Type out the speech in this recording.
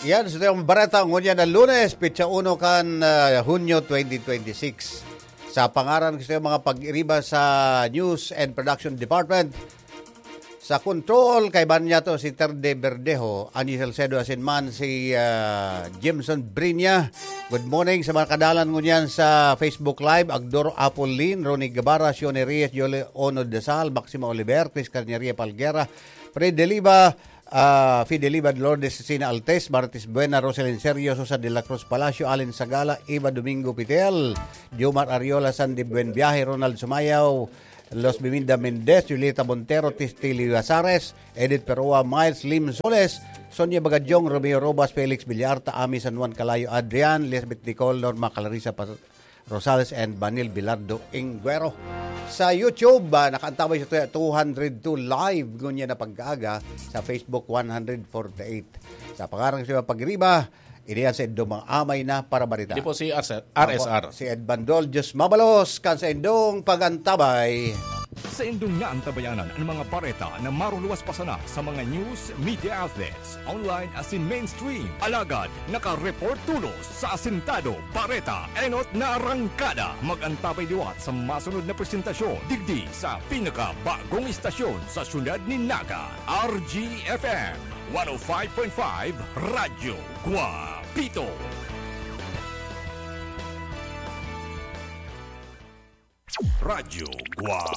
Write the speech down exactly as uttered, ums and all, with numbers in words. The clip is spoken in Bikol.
Yan, sa itong bareta, ngunyan na Lunes, petsa uno kan, ah, Hunyo twenty twenty-six. Sa pangaran ko sa mga pag-iriba sa News and Production Department, sa control, kaiba niya to si Terde Verdejo, Angie Salcedo, asin man si, ah, Jimson Brinya. Good morning sa mga kadalan ngunyan sa Facebook Live, Agdor Apolin, Ronnie Guevara, Sione Reyes, Jole Ono Desal, Maxima Oliver, Chris Carniaria Palguera, Fred Deliva, ah, Fideliva, Lourdes Cecina Altes, Martis Buena, Roselyn Sergio, Sosa de la Cruz Palacio, Allen Sagala, Eva Domingo Pitel, Jomar Ariola, Sandy Buen Viaje, Ronald Sumayaw, Los Biminda Mendez, Julieta Montero, Tistili Lazares, Edith Perua, Miles Lim Soles, Sonia Bagadyong, Romeo Robas, Felix Villarta, Ami San Juan Calayo, Adrian, Lisbeth Nicole, Norma Clarissa Pas-, Rosales, and Banil Bilardo Inguero. Sa YouTube, ah, nakaantabay sa two hundred two live, ngunyan na pagkaaga, sa Facebook, one hundred forty-eight. Sa pangaran sa pagriba, iniyan sa indong mga amay na para barita. Di po si R S R. Opo, si Ed Bandol, Diyos mabalos, kan sa indong pag-antabay. Sa indong naantabayanan ang mga bareta na maruluwas pa sana sa mga news media outlets, online asin mainstream. Alagad, naka-report tulos sa asintado, bareta, enot na arangkada. Mag-antabay liwat sa masunod na presentasyon, digdi sa pinakabagong istasyon sa syudad ni Naga, R G F M, one oh five point five, Radyo Guapito. Radyo Guapito.